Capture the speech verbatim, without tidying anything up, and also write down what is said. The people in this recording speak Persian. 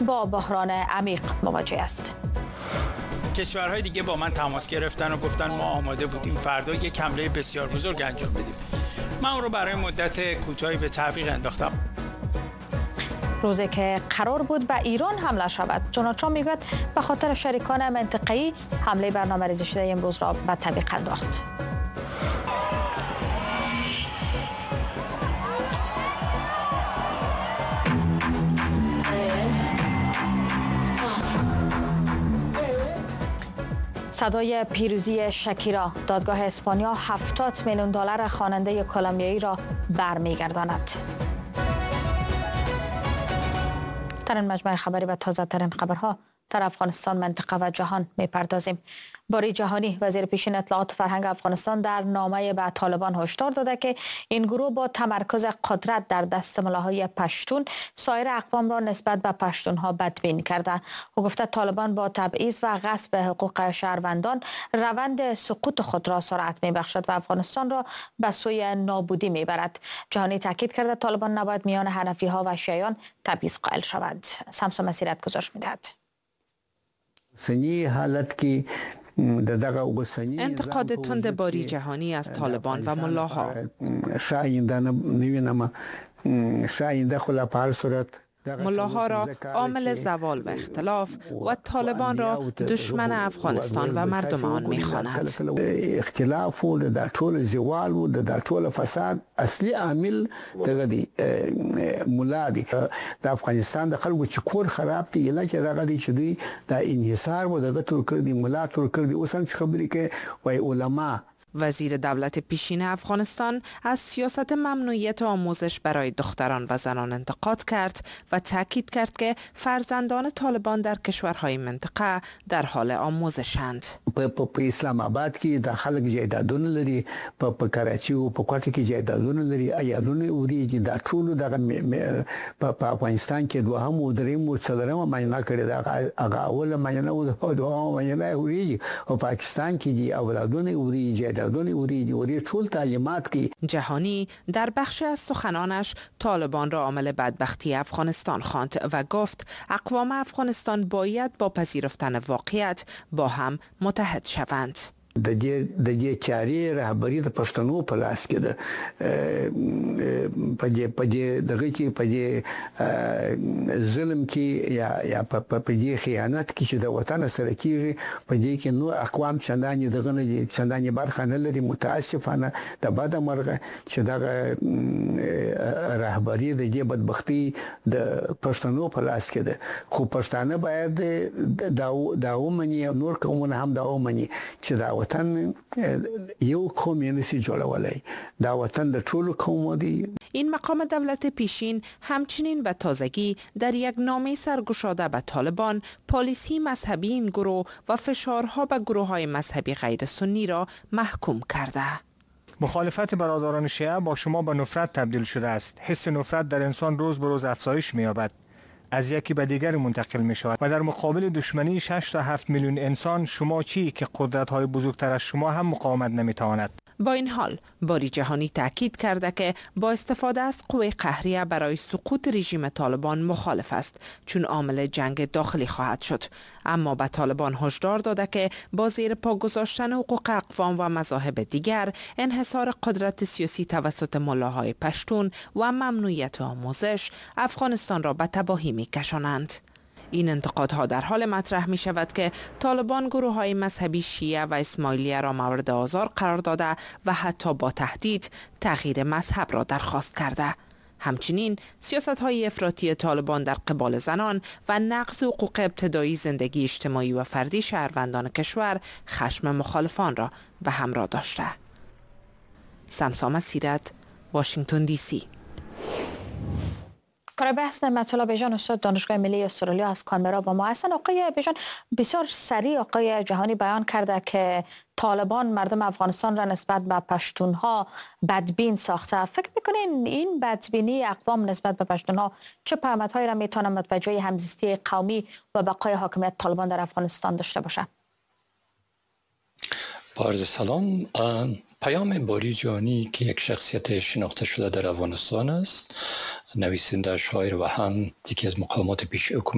با بحران عمیق مواجه است. کشورهای دیگه با من تماس گرفتن و گفتن ما آماده بودیم فردا یک حمله بسیار بزرگ انجام بدیم. من اون رو برای مدت کوتاهی به تعویق انداختم. روزی که قرار بود به ایران حمله شود، دونالد ترامپ میگوید به خاطر شریکان منطقه‌ای حمله برنامه‌ریزی شده امروز را به تعویق انداخت. صدای پیروزی شکیرا، دادگاه اسپانیا هفتاد میلیون دلار خواننده کلمبیایی را برمیگرداند. ترین مجموعه خبری و تازه ترین خبرها در افغانستان، منطقه و جهان میپردازیم. باری جهانی، وزیر پیشین اطلاعات فرهنگ افغانستان در نامه به طالبان هشدار داده که این گروه با تمرکز قدرت در دست ملاهای پشتون سایر اقوام را نسبت به پشتونها بدبین کرده. او گفته طالبان با تبعیض و غصب حقوق شهروندان روند سقوط خود را سرعت میبخشد و افغانستان را به سوی نابودی میبرد. جهانی تاکید کرده طالبان نباید میان حنفی ها و شیعیان تبعیض قائل شوند. سمسم مسیرت گزارش میدهد. انتقاد تند باری جهانی از طالبان و ملاها. ملاها را عامل زوال و اختلاف و طالبان را دشمن افغانستان و مردم آن می‌خواند. اختلاف و در طول زوال و در طول فساد اصلی عامل دغه دی ملا دی. د افغانستان د خلکو چې کور خراب دی علت دغه دی چې دوی د انحصار و دغه تور کړ دی، ملا تور کړ دی. اوس هم چې خبرې کوي وای علما. وزیر دولت پیشین افغانستان از سیاست ممنوعیت آموزش برای دختران و زنان انتقاد کرد و تاکید کرد که فرزندان طالبان در کشورهای منطقه در حال آموزشند. په اسلام آباد کې د خلک جایدادونه لري، په کراچي او په کوټه کې جایدادونه لري، ایالونه اوریږي. دا ټول دغه په افغانستان کې دوهم او دریم او څلورمه معاینه کړې ده، هغه اوله معاینه او دوهمه معاینه اوریږي. او پاکستان کې دي اولادونه اوریږي، جهانی در بخش از سخنانش طالبان را عامل بدبختی افغانستان خواند و گفت اقوام افغانستان باید با پذیرفتن واقعیت با هم متحد شوند. د دې د دې چارې رهبري د پښتنو په لاس کې ده. په دې په دې دغه کې په دې ظلم کې یا یا په دې خیانت کې چې د وطن سره کیږي، په دې کې نور اقوام چندانې دغه نه دي، چندانې برخه نه لري. متاسفانه د بده مرغه چې دغه رهبري د دې بدبختي د پښتنو په لاس کې ده. خو پښتانه باید دا دا ومني، نور قومونه هم دا ومني چې دا وطن یو قوم یې نشي جوړولای، دا وطن د ټولو قومو دی. این مقام دولت پیشین همچنین به تازگی در یک نامه سرگشاده به طالبان پالیسی مذهبی این گروه و فشارها به گروه‌های مذهبی غیر سنی را محکوم کرده. مخالفت برادران شیعه با شما به نفرت تبدیل شده است. حس نفرت در انسان روز به روز افزایش می‌یابد، از یکی به دیگر منتقل می شود و در مقابل دشمنی شش تا هفت میلیون انسان شما چی که قدرت های بزرگتر از شما هم مقاومت نمی تواند. با این حال باری جهانی تاکید کرده که با استفاده از قوه قهریه برای سقوط رژیم طالبان مخالف است، چون عامل جنگ داخلی خواهد شد. اما به طالبان هشدار داده که با زیر پا گذاشتن حقوق اقوام و مذاهب دیگر، انحصار قدرت سیاسی توسط ملاهای پشتون و ممنوعیت آموزش، افغانستان را به تباهی می‌کشانند. این انتقادها در حال مطرح می شود که طالبان گروه های مذهبی شیعه و اسماعیلیه را مورد آزار قرار داده و حتی با تهدید تغییر مذهب را درخواست کرده. همچنین سیاست های افراطی طالبان در قبال زنان و نقض حقوق ابتدایی زندگی اجتماعی و فردی شهروندان کشور خشم مخالفان را به همراه داشته. سمسام سیرت، واشنگتن دی سی. برای بحث نعمت‌الله بیژن، استاد دانشگاه ملی استرالیا از کانبرا با ما هستن. آقای بیژن، بسیار سریع آقای جهانی بیان کرده که طالبان مردم افغانستان را نسبت به پشتونها بدبین ساخته. فکر میکنین این بدبینی اقوام نسبت به پشتونها چه پیامدهایی را میتونه متوجه همزیستی قومی و بقای حاکمیت طالبان در افغانستان داشته باشه؟ با عرض سلام، پیام باری جهانی که یک شخصیت شناخته شده در افغانستان است، نویسنده، شاعر و هم یکی از مقامات پیش